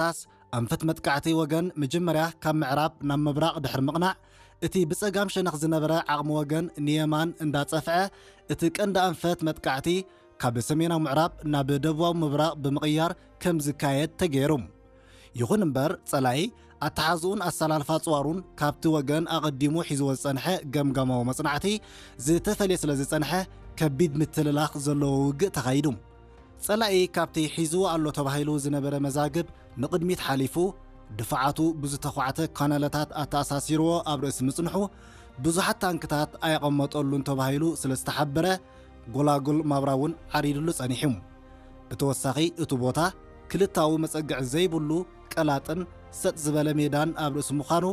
ብምጥቃስ፣ ኣንፈት መጥቃዕቲ ወገን መጀመርያ ካብ ምዕራብ ናብ ምብራቕ ድሕሪ ምቕናዕ፣ እቲ ብጸጋም ሸነኽ ዝነበረ ዓቕሚ ወገን ንየማን እንዳጸፍዐ፣ እቲ ቀንዲ ኣንፈት መጥቃዕቲ ካብ ሰሜናዊ ምዕራብ ናብ ደቡባዊ ምብራቕ ብምቕያር ከም ዝካየድ ተገይሩ። ይኹን እምበር፣ ጸላኢ ኣተሓዝኡን ኣሰላልፋ ጽዋሩን ካብቲ ወገን ኣቐዲሙ ሒዝዎ ዝጸንሐ ገምጋማዊ መጽናዕቲ ዝተፈልየ ስለ ዝጸንሐ፣ ከቢድ ምትልላኽ ዘለዎ ውግእ ተኻይዱ። ጸላኢ ካብቲ ሒዝዎ ኣሎ ተባሂሉ ዝነበረ መዛግብ ንቕድሚት ሓሊፉ፣ ድፋዓቱ ብዝተዃዕተ ካናለታት ኣተኣሳሲርዎ ኣብ ርእሲ ምጽንሑ፣ ብዙሓት ታንክታት ኣየቐመጠሉን ተባሂሉ ስለ ዝተሓበረ፣ ጎላጉል ማብራ እውን ዓሪድሉ ጸኒሑ። ብተወሳኺ፣ እቲ ቦታ ክልታዊ መጸግዒ ዘይብሉ ቀላጥን ሰጥ ዝበለ ሜዳን ኣብ ርእሲ ምዃኑ፣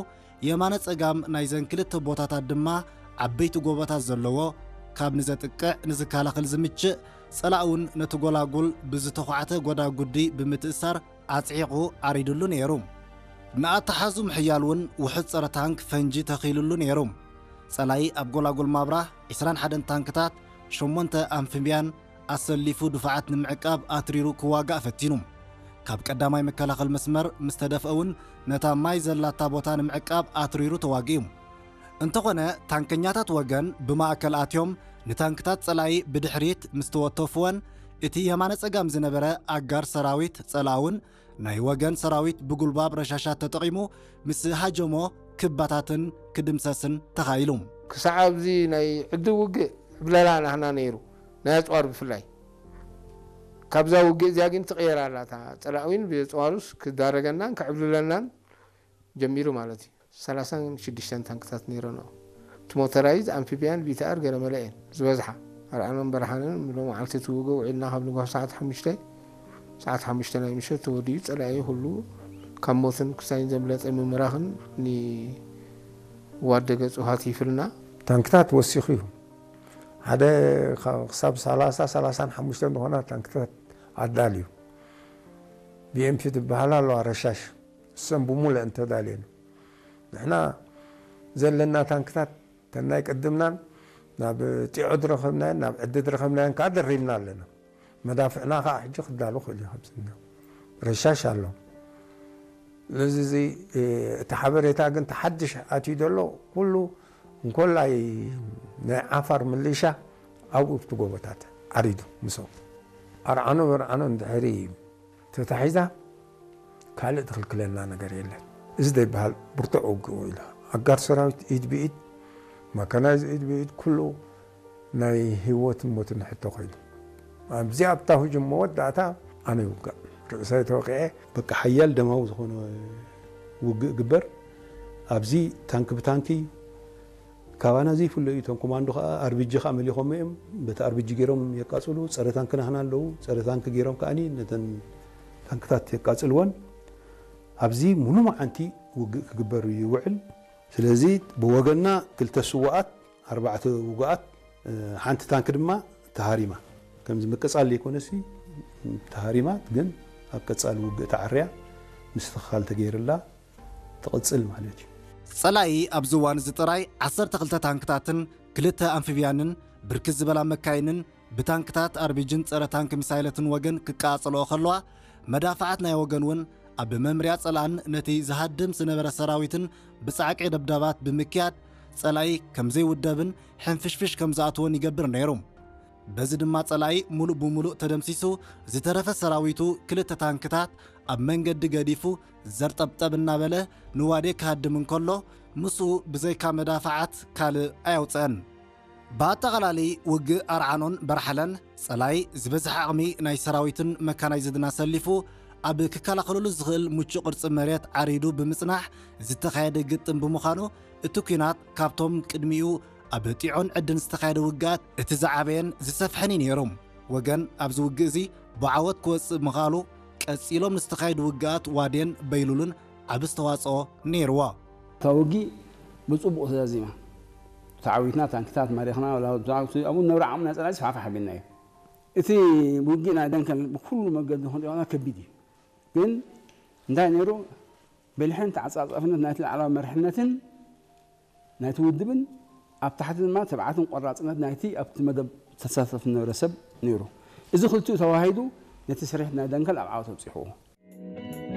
የማነ ጸጋም ናይዘን ክልተ ቦታታት ድማ ዓበይቲ ጎቦታት ዘለዎ፣ ካብ ንዘጥቅዕ ንዝከላኸል ዝምችእ፣ ጸላእ እውን ነቲ ጎላጉል ብዝተዃዕተ ጎዳጉዲ ብምትእሳር ኣጽዒቑ ዓሪድሉ ነይሩ። ንኣተሓዙ ምሕያል እውን ውሑድ ጸረ ታንክ ፈንጂ ተኺሉሉ ነይሩ። ጸላኢ ኣብ ጎላጉል ማብራ ዕስራን ሓደን ታንክታት፣ ሸሞንተ ኣምፊብያን ኣሰሊፉ ድፋዓት ንምዕቃብ ኣትሪሩ ክዋጋእ ፈቲኑ። ካብ ቀዳማይ መከላኸል መስመር ምስ ተደፍአ እውን ነታ ማይ ዘላታ ቦታ ንምዕቃብ ኣትሪሩ ተዋጊኡ። እንተኾነ፣ ታንከኛታት ወገን ብማእከል ኣትዮም ንታንክታት ጸላኢ ብድሕሪት ምስ ተወተፍወን፣ እቲ የማነ ጸጋም ዝነበረ ኣጋር ሰራዊት ጸላእውን ናይ ወገን ሰራዊት ብጉልባብ ረሻሻት ተጠቒሙ ምስ ሃጀሞ ክባታትን ክድምሰስን ተኻኢሉ። ክሳዕ ኣብዚ ናይ ዕድል ውግእ ዕብለላ ናህና ነይሩ፣ ናይ ኣጽዋር ብፍላይ። ካብዛ ውግእ እዚኣ ግን ትቕየር ኣላ። እታ ጸላእዊን ብየጽዋሩስ ክዳረገናን ክዕብልለናን ጀሚሩ ማለት እዩ። ሰላሳን ሽዱሽተን ታንክታት ነይረን ኣብኡ። እቲ ሞተራይዝ፣ ኣምፊብያን፣ ቪቲኣር ገለ መለ እየን ዝበዝሓ። ኣርዓኖን በርሃንን ሎም መዓልቲ እቲ ውግእ ውዒልና ካብ ንግሆ ሰዓት ሓሙሽተ፣ ሰዓት ሓሙሽተ ናይ ምሸት ተወዲኡ ጸላኢ ኩሉ ካብ ሞትን ክሳይን ዘምለጠ ምምራኽን ንዋደ ገጹ ሃቲፍልና። ታንክታት ወሲኹ እዩ። ሓደ ኻ-፣ ክሳብ ሰላሳ፣ ሰላሳን ሓሙሽተን ዝኾና ታንክታት ኣዳልዩ። ቢኤምፒ ትበሃል ኣለዋ ረሻሽ። እሰን ብሙሉእ እንተዳልየን። ንሕና ዘለና ታንክታት ተናይ ቅድምናን ናብ ጢዖ ዝረኸብናየን ናብ ዕዲ ዝረኸብናየን ከዓ ደሪብና ኣለና። መዳፍዕና ከዓ ሕጂ ክዳሉ ክእል እዩ። ካብዚ ረሻሽ ኣሎ። ስለዚ እዚ፣ እ፣ እቲ ሓበሬታ ግን ተሓድሽ ኣትዩ ዘሎ ኩሉ እንኮላይ ናይ ዓፋር ምልሻ ኣብኡ ኣብቲ ጎቦታት ዓሪዱ ምስኦም ኣርዓኖ በርዓኖ እንድሕሪ ተታሒዛ ካልእ ትኽልክለና ነገር የለን። እዚ ዘይበሃል ብርቱዕ ውግእ ኢሉ ኣጋር ሰራዊት ኢድ ብኢድ፣ መካናይዝ ኢድ ብኢድ፣ ኩሉ ናይ ህይወትን ሞትን ሕቶ ኮይኑ ኣብዚ ኣብታ ህጁም መወዳእታ ኣነ ይውጋእ ርእሰይ ተወቂዐ። በቃ ሓያል ደማዊ ዝኾነ ውግእ ግበር። ኣብዚ ታንኪ ብታንኪ ካባና ዘይፍለ እዩ። እቶም ኮማንዶ ከዓ ኣርቢጂ ከዓ መሊኾም እዮም። በቲ ኣርቢጂ ገይሮም የቃጽሉ። ጸረ ታንኪ ናህና ኣለዉ። ጸረ ታንኪ ገይሮም ከዓኒ ነተን ታንክታት የቃጽልወን። ኣብዚ ሙሉ መዓንቲ ውግእ ክግበር ይውዕል። ስለዚ ብወገንና ክልተ ስዋኣት፣ ኣርባዕተ ውጉኣት፣ እ፣ ሓንቲ ታንኪ ድማ ተሃሪማ። ከምዚ ምቅጻል ዘይኮነሲ ተሃሪማ፣ ግን ኣብ ቀጻሊ ውግእ ተዓርያ ምስትኽኻል ተገይርላ ትቕጽል ማለት እዩ። ጸላኢ ኣብዚ እዋን እዚ ጥራይ ዓሰርተ ክልተ ታንክታትን ክልተ ኣምፊብያንን ብርክት ዝበላ መካይንን ብታንክታት ኣርቢጅን ጸረ ታንክ ሚሳይለትን ወገን ክቃጸልኦ ከለዋ፣ መዳፍዓት ናይ ወገን እውን ኣብ መምርያ ጸላእን ነቲ ዝሃድም ዝነበረ ሰራዊትን ብጻዕቂ ደብዳባት ብምክያድ፣ ጸላኢ ከም ዘይውደብን ሕንፍሽፍሽ ከም ዝኣትዎን ይገብር ነይሩ። በዚ ድማ ጸላኢ ሙሉእ ብሙሉእ ተደምሲሱ፣ ዝተረፈ ሰራዊቱ ክልተ ታንክታት ኣብ መንገዲ ገዲፉ ዘርጠብጠብ እናበለ ንዋዴ ክሃድም እንከሎ፣ ምስኡ ብዘይካ መዳፍዓት ካልእ ኣየውጽአን። ብኣጠቓላሊ ውግእ ኣርዓኖን በርሓለን፣ ጸላኢ ዝበዝሐ ዓቕሚ ናይ ሰራዊትን መካናይዝድን ኣሰሊፉ ኣብ ክከላኸለሉ ዝኽእል ምቹእ ቅርጺ መሬት ዓሪዱ ብምጽናሕ ዝተኻየደ ግጥም ብምዃኑ፣ እቲ ኲናት ካብቶም ቅድሚኡ ኣብ ጢዖን ዕድን ዝተኻየደ ውግኣት እቲ ዝዓበየን ዝሰፍሐን እዩ ነይሩ። ወገን ኣብዚ ውግእ እዚ ብዓወት ክወጽእ ምኽኣሉ፣ ቀጺሎም ንዝተኻየዱ ውግኣት ዋዴን በይሉልን ዓቢ ኣስተዋጽኦ ነይርዎ። እታ ውግእ ብጽቡቕ ተዛዚማ። ተዓዊትና፣ ታንክታት ማሪኽና፣ ዋላ ኣብኡ ነብሪ ዓቕሚ ናይ ጸላኢ ስፋሕፋሕ ኣቢልና እዩ። እቲ ውግእ ናይ ደንከል ብኩሉ መገዲ ክንሪኦ ከቢድ እዩ። ግን እንታይ ነይሩ? ብልሕን ተዓጻጻፍነት ናይቲ ላዕላዊ መሪሕነትን ናይቲ ውድብን ኣብ ታሕቲ ድማ ትብዓትን ቆራጽነት ናይቲ ኣብቲ መደብ ተሳተፍ ዝነበረ ሰብ ነይሩ። እዚ ክልቲኡ ተዋሂዱ ነቲ ስርሒት ናይ ደንከል ኣብ ዓወት ኣብጺሕዎ።